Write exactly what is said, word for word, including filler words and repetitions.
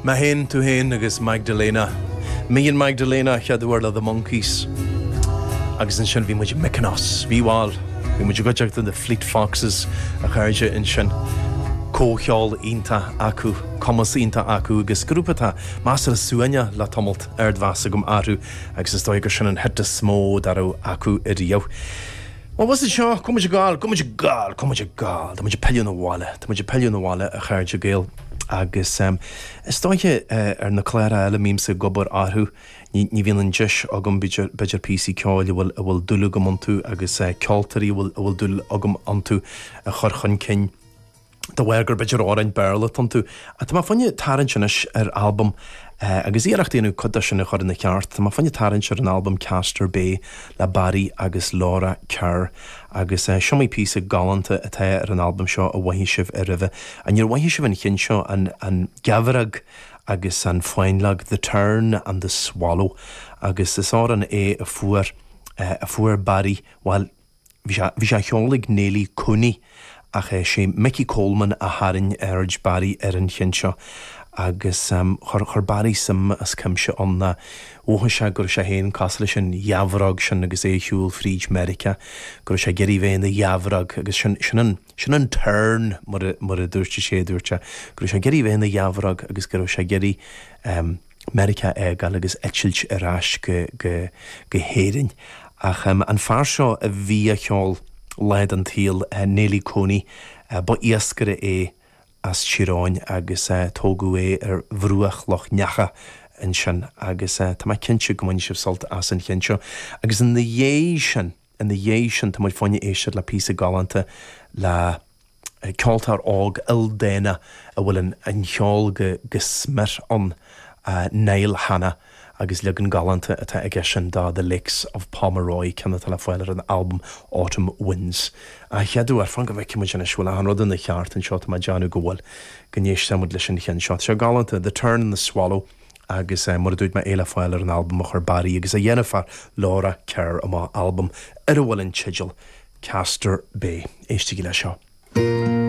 Mé féin, tú féin agus Magdalena. Me and Magdalena chéad uair le The Monkees. Agus ansin bhí muid i Mykonos, bhí bhuel, bhí muid i gcuideachta The Fleet Foxes a chairde ansin. Comhcheol iontach acu, cumas iontach acu agus grúpa atá measartha suaimhneach le tamalt ardmheas agam orthu agus is dóigh gur sin an hit is mó dá raibh acu ariamh. Well was seo cum gáil, cum gáil, cum gáil, Tá muid ag pilleadh 'na bhaile, Tá muid ag pilleadh 'na bhaile a chairde Gael agus um, is dóiche uh, ar na cláir eile bímse ag obair orthu ní, ní bhíonn an deis agam b'fhéidir píosaí ceoil a bhfuil a bhfuil dúil agam iontu agus uh, ceoltóirí a bhfuil a bhfuil dúil agam iontu a chur chun cinn. De bharr gur b'fhéidir amhráin Béarla iontu. A tá mé fá choinne tarraingt anois ar albam uh, agus iarracht déanamh cuid sin a chur ina cheart, Tá mé fá choinne tarraingt ar an albam Castor Bay le Barry agus Laura Kerr agus uh, seo píosa galánta atá ar an albam seo a mhothaigh sibh ar roimhe. An níor mhothaigh sibh an ceann seo an, an geamhróg agus an fáinleog The Tern and the Swallow agus is amhrán é a fuair uh, a fuair Barry well bhí sé á cheol ag Neilí Cooney ach é sé Mickey Coleman a tharraing aird Barry ar an cheann seo agus um, chuir chuir Barry suim as cuimse ann na mhothaigh sé gur sé féin cosúil leis an gheamhróg sin agus é ag siúl fríd Meiriceá gur sé ag iarraidh bheith ina gheamhróg agus sin sin an sin an tern mar mar a dúirt sé dúirt sé gur sé ag iarraidh bheith ina gheamhróg agus gur sé ag iarraidh um, Meiriceá a fhágáil agus eitilt ar ais go, go, go hÉirinn. Ach um, an fear seo a bhí á cheol lá den tsaol uh, Neilí Cooney uh, ba iascaire é as Tír Eoghain agus uh, tógadh é ar bhruach Loch Neacha ansin agus uh, tá mé cinnte go mbainfidh sibh sult as an cheann seo. Agus ina dhiaidh sin ina dhiaidh sin tá muid fá choinne éisteacht le píosa galánta le ceoltóir óg ildánach a bhfuil an, an ceol go, go smior ann uh, Niall Hanna agus leagan galánta atá aige sin de The Lakes of Pomeroy ceann atá le fáil ar an album Autumn Winds. A cheadú ar fan go bhfeicfidh muid bhfuil an rud ina cheart anseo tá déanamh go bhfuil go n-éistfimid leis an cheann seo. Seo galánta The Tern and the Swallow agus uh, mar a dúirt mé é le fáil ar an album a chuir Barry agus a dheartháir Laura Kerr amach album ar a bhfuil an teideal Castor Bay. Éistigí le seo.